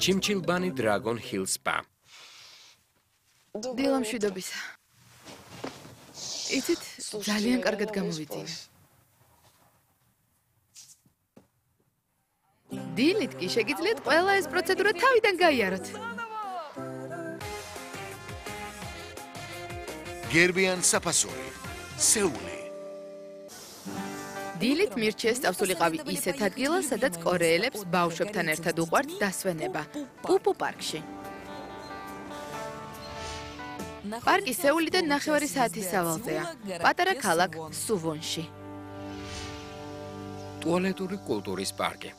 ჩიმჩილბანი Dragon Hill Spa. დილა მშვიდობისა. იცით, ძალიან კარგად გამოვიძინე. დილით კი შეგიძლიათ ყველა ეს პროცედურა თავიდან გაიაროთ. გერბიან საფასური, სეული. დილით მირჩიეს სწავლულიყავი ისეთ ადგილას, სადაც კორეელებს ბავშვებთან ერთად უყვართ დასვენება, პუპუ პარკში. პარკი სეულიდან 9 საათის სავალზეა, პატარა ქალაქ სუვონში. ტუალეტური კულტურის პარკი.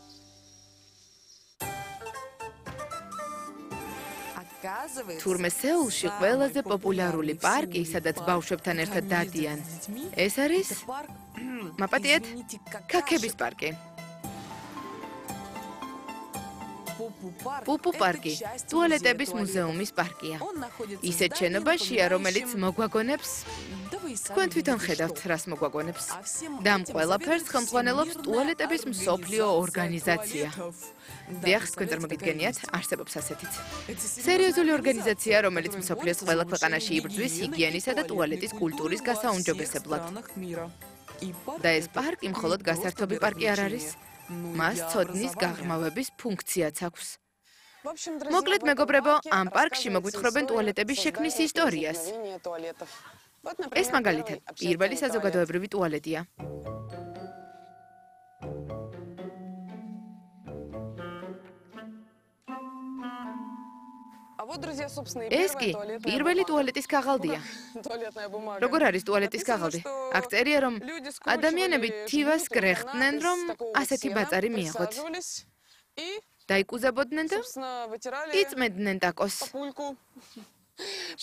თურმე სეულში ყველაზე პოპულარული პარკი, სადაც ბავშვებთან ერთად დადიან. ეს არის მაპატიეთ, ქაქების პარკი. პუპუ პარკი ტუალეტების მუზეუმის პარკია. ისეთ შენობაშია, რომელიც მოგვაგონებს თქვენ თვითონ ხედავთ, რას მოგვაგონებს. და ამ ყველაფერს ხელმძღვანელობს ტუალეტების მსოფლიო ორგანიზაცია. დიახ, თქვენ წარმოგიდგენიათ, არსებობს ასეთიც. სერიოზული ორგანიზაცია, რომელიც მსოფლიოს ყველა ქვეყანაში იბრძვის ჰიგიენისა და ტუალეტის კულტურის გასაუმჯობესებლად. და ეს პარკი მხოლოდ გასართობი პარკი არ არის. მას ცოდნის გაღრმავების ფუნქციაც აქვს. მოკლედ, მეგობრებო, ამ პარკში მოგვითხრობენ ტუალეტების შექმნის ისტორიას. ეს მაგალითად, პირველი საზოგადოებრივი ტუალეტია. ეს კი პირველი ტუალეტის ქაღალდია. როგორ არის ტუალეტის ქაღალდი? აქ წერია, რომ ადამიანები თივას გრეხდნენ, რომ ასეთი ბაწარი მიეღოთ. დაიკუზებოდნენ და იწმენდნენ ტაკოს.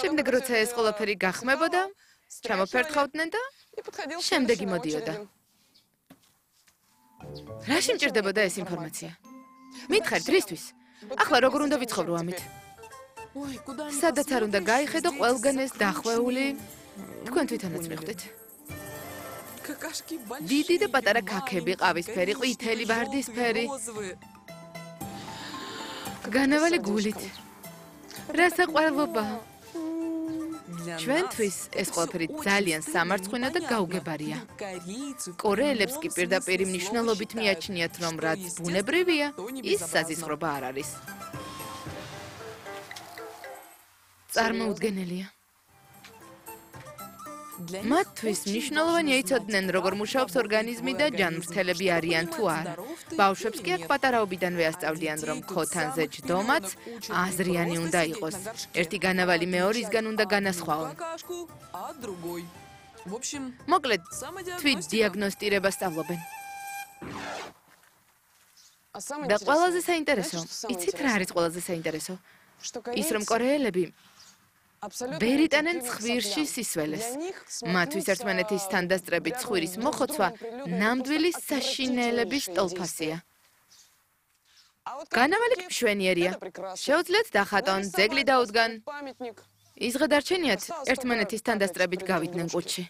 შემდეგ როცა ეს ყველაფერი გახმებოდა, ჩამოფერთხავდნენ და შემდეგი მოდიოდა. რა შემჭირდებოდა ეს ინფორმაცია? მითხარით, რისთვის? ახლა როგორ უნდა ვიცხოვრო ამით? სადაც არ უნდა გაიხედო ყველგან ეს დახვეული, თქვენ თვითონაც მიხვდით. დიდი და პატარა ქაქები, ყავისფერი, ყვითელი, ვარდისფერი. განავალი გულით. რა საყვარლობა. ჩვენთვის ეს ყველაფერი ძალიან სამარცხვინო და გაუგებარია. კორეელებს კი პირდაპირ მნიშვნელობით მიაჩნიათ, რომ რაც ბუნებრივია, ის საზისხრობა არ არის. წარმოუდგენელია. მათთვის მნიშვნელოვანია იცოდნენ, როგორ მუშაობს ორგანიზმი და ჯანმრთელები არიან თუ არა. ბავშვებს კი აქ პატარაობიდანვე ასწავლიან, რომ ქოთანზე ჯდომაც აზრიანი უნდა იყოს. ერთი განავალი მეორისგან უნდა განასხვაონ. მოკლედ, თვით დიაგნოსტირებას სწავლობენ. და ყველაზე საინტერესო, იცით რა არის ყველაზე საინტერესო? ის რომ კორეელები ვერ იტანენ ცხვირში სისველეს. მათთვის ერთმანეთისთან დასწრებით ცხვირის მოხოცვა ნამდვილი საშინელების ტოლფასია. განავალი კი მშვენიერია. შეუძლიათ დახატონ, ძეგლი დაუდგან. ის ღედარჩენიათ ერთმანეთისთან დასწრებით გავიდნენ კუჩში.